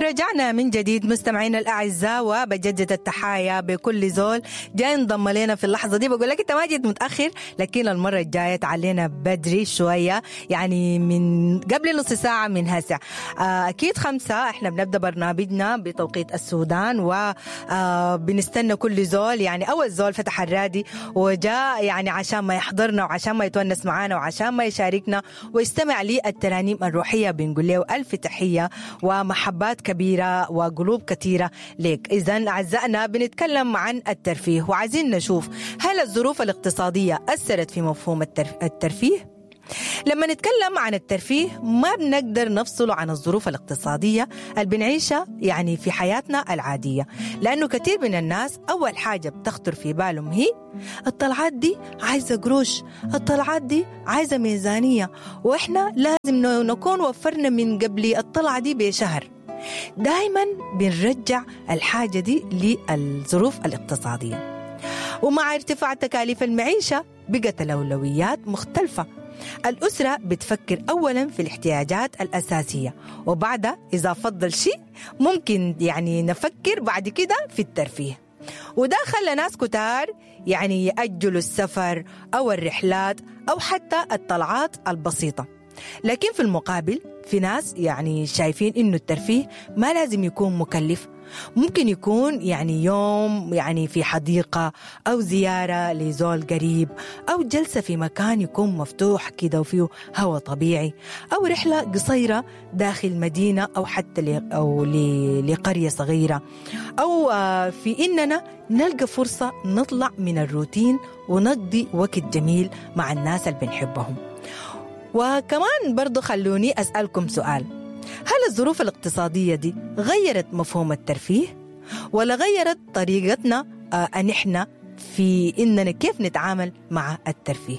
رجعنا من جديد مستمعينا الاعزاء، وبجدد التحايا بكل زول جاي انضم لنا في اللحظة دي. بقول لك انت ما جيت متاخر، لكن المرة الجاية تعالينا بدري شوية، يعني من قبل نص ساعة من هسه. اكيد 5 احنا بنبدا برنامجنا بتوقيت السودان، وبنستنى كل زول، يعني اول زول فتح الرادي وجاء يعني عشان ما يحضرنا وعشان ما يتونس معانا وعشان ما يشاركنا ويستمع للترانيم الروحية، بنقول له الف تحية ومحبات كبيرة وقلوب كثيرة لك. إذا أعزائنا بنتكلم عن الترفيه، وعايزين نشوف هل الظروف الاقتصادية أثرت في مفهوم الترفيه؟ لما نتكلم عن الترفيه ما بنقدر نفصله عن الظروف الاقتصادية اللي بنعيشها يعني في حياتنا العادية، لأنه كثير من الناس أول حاجة بتخطر في بالهم هي الطلعات دي عايزة قروش، الطلعات دي عايزة ميزانية، وإحنا لازم نكون وفرنا من قبل الطلعة دي بشهر. دايما بنرجع الحاجة دي للظروف الاقتصادية. ومع ارتفاع تكاليف المعيشة بقت الأولويات مختلفة. الأسرة بتفكر أولا في الاحتياجات الأساسية، وبعدها إذا فضل شيء ممكن يعني نفكر بعد كده في الترفيه. وده خلى ناس كتار يعني يأجلوا السفر أو الرحلات أو حتى الطلعات البسيطة. لكن في المقابل في ناس يعني شايفين إنه الترفيه ما لازم يكون مكلف، ممكن يكون يعني يوم يعني في حديقة أو زيارة لزول قريب أو جلسة في مكان يكون مفتوح كده وفيه هواء طبيعي، أو رحلة قصيرة داخل مدينة أو حتى أو لقرية صغيرة، أو في إننا نلقى فرصة نطلع من الروتين ونقضي وقت جميل مع الناس اللي بنحبهم. وكمان برضو خلوني أسألكم سؤال، هل الظروف الاقتصادية دي غيرت مفهوم الترفيه؟ ولا غيرت طريقتنا أن إحنا في إننا كيف نتعامل مع الترفيه؟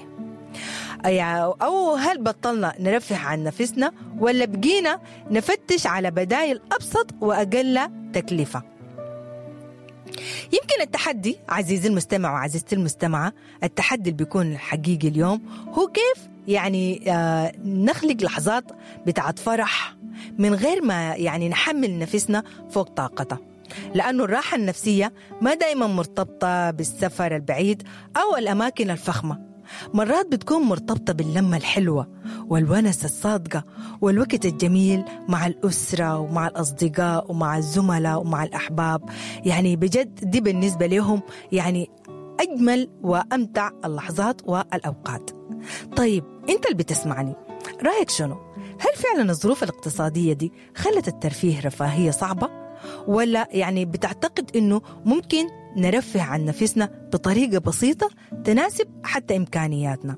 أو هل بطلنا نرفه عن نفسنا ولا بقينا نفتش على بدائل أبسط وأقل تكلفة؟ يمكن التحدي عزيزي المستمع وعزيزتي المستمعة، التحدي اللي بيكون حقيقي اليوم هو كيف يعني نخلق لحظات بتاعت فرح من غير ما يعني نحمل نفسنا فوق طاقتها، لأنه الراحة النفسية ما دايما مرتبطة بالسفر البعيد أو الأماكن الفخمة، مرات بتكون مرتبطة باللمة الحلوة والونس الصادقة والوقت الجميل مع الأسرة ومع الأصدقاء ومع الزملاء ومع الأحباب. يعني بجد دي بالنسبة لهم يعني أجمل وأمتع اللحظات والأوقات. طيب أنت اللي بتسمعني، رأيك شنو؟ هل فعلا الظروف الاقتصادية دي خلت الترفيه رفاهية صعبة؟ ولا يعني بتعتقد أنه ممكن نرفه عن نفسنا بطريقة بسيطة تناسب حتى إمكانياتنا؟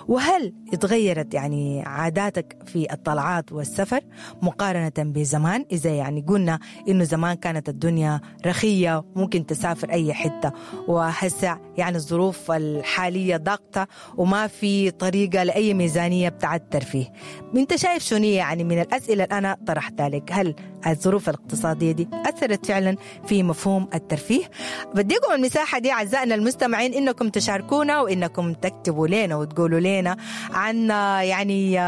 وهل اتغيرت يعني عاداتك في الطلعات والسفر مقارنة بزمان؟ إذا يعني قلنا إنه زمان كانت الدنيا رخية ممكن تسافر أي حتة، وهسه يعني الظروف الحالية ضاغطة وما في طريقة لأي ميزانية بتاعت الترفيه. أنت شايف شنو يعني من الأسئلة اللي أنا طرحتها لك؟ هل الظروف الاقتصادية دي أثرت فعلا في مفهوم الترفيه؟ بديكم المساحة دي أعزائنا المستمعين إنكم تشاركونا وإنكم تكتبوا لنا وتقولوا لنا عن يعني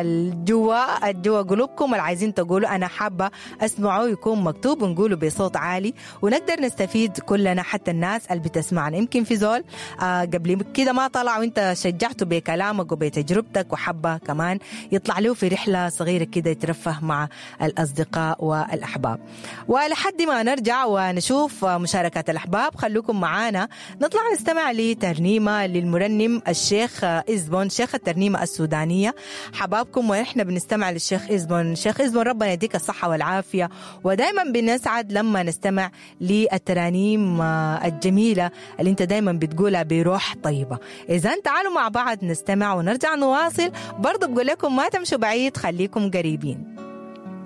الجوا قلوبكم اللي عايزين تقولوا أنا حابة أسمعه يكون مكتوب ونقوله بصوت عالي ونقدر نستفيد كلنا، حتى الناس اللي بتسمعنا. يمكن في زول قبل كده ما طلع وإنت شجعته بكلامك وبتجربتك وحبة كمان يطلع له في رحلة صغيرة كده يترفه مع الأصدقاء والأحباب. ولحد ما نرجع ونشوف مشاركات الأحباب خلوكم معانا نطلع نستمع لترنيمة للمرنم الشيخ إزبون، شيخ الترنيمة السودانية. حبابكم ونحن بنستمع للشيخ إزبون. شيخ إزبون ربنا يديك الصحة والعافية، ودايما بنسعد لما نستمع للترانيم الجميلة اللي انت دايما بتقولها بروح طيبة. إذن تعالوا مع بعض نستمع ونرجع نواصل. برضو بقول لكم ما تمشوا بعيد، خليكم قريبين.